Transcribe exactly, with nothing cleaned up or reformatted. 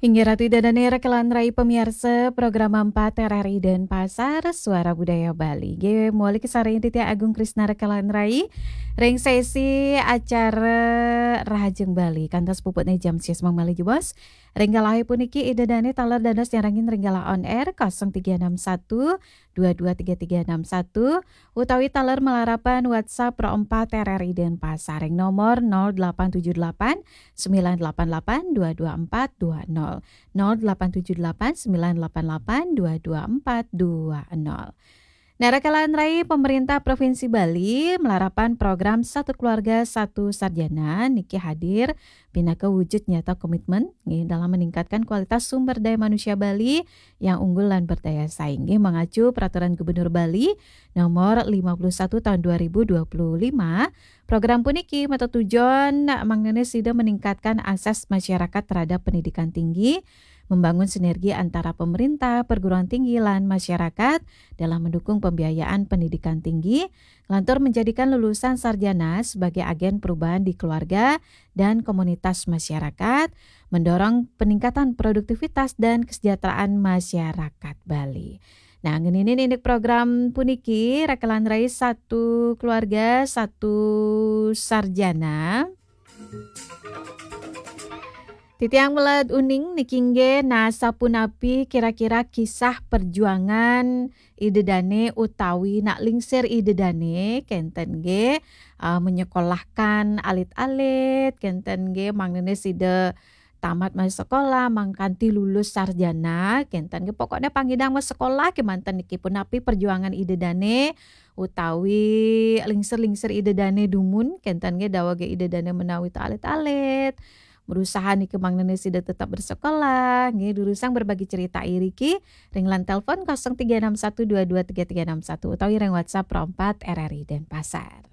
Inggih Ratu Ida dané rekan rai pamiarsa program empat R R I Denpasar, Suara Budaya Bali. Nggih, mawali kasarengin titiang Agung Krisna rekan rai ring sesi acara Rahajeng Bali. Kantos puputné jam sias malih jebos. Ring galahé puniki Ida dané taler dados nyarengin ring galah on air kosong tiga enam satu dua dua tiga tiga enam satu utawi taler malarapan WhatsApp Pro empat R R I Denpasar ring nomor nol delapan tujuh delapan sembilan delapan delapan dua dua empat dua nol, nol delapan tujuh delapan sembilan delapan delapan dua dua empat dua nol. Nah, rekan rai, pemerintah Provinsi Bali malarapan program Satu Keluarga Satu Sarjana niki hadir pinaka wujud nyata komitmen nggih dalam meningkatkan kualitas sumber daya manusia Bali yang unggul lan berdaya saing. Nggih, mengacu Peraturan Gubernur Bali nomor lima puluh satu tahun dua ribu dua puluh lima, program puniki matetujon mangdané sida meningkatkan akses masyarakat terhadap pendidikan tinggi, membangun sinergi antara pemerintah, perguruan tinggi, lan masyarakat dalam mendukung pembiayaan pendidikan tinggi, lantur menjadikan lulusan sarjana sebagai agen perubahan di keluarga dan komunitas masyarakat, mendorong peningkatan produktivitas dan kesejahteraan masyarakat Bali. Nah, ngeninin indik program puniki, rekan rai, Satu Keluarga Satu Sarjana. Titiang malih uning niki nggih, nah, sapunapi kira-kira kisah perjuangan Ida dané utawi nak lingsir Ida dané, kénten nggih, ah, menyekolahkan alit-alit, kénten nggih, mangdané sida tamat malih sekolah, mangkanti lulus sarjana, kénten nggih, pokokné pangidang malih sekolah kémanten niki, punapi perjuangan Ida dané utawi lingsir-lingsir Ida dané dumun, kénten nggih, daweg Ida dané menawi alit-alit, berusaha niki mangdané sida tetap bersekolah, nggih, durusang berbagi cerita iriki ring line telepon kosong tiga enam satu dua dua tiga tiga enam satu utawi ring WhatsApp Pro empat R R I Denpasar.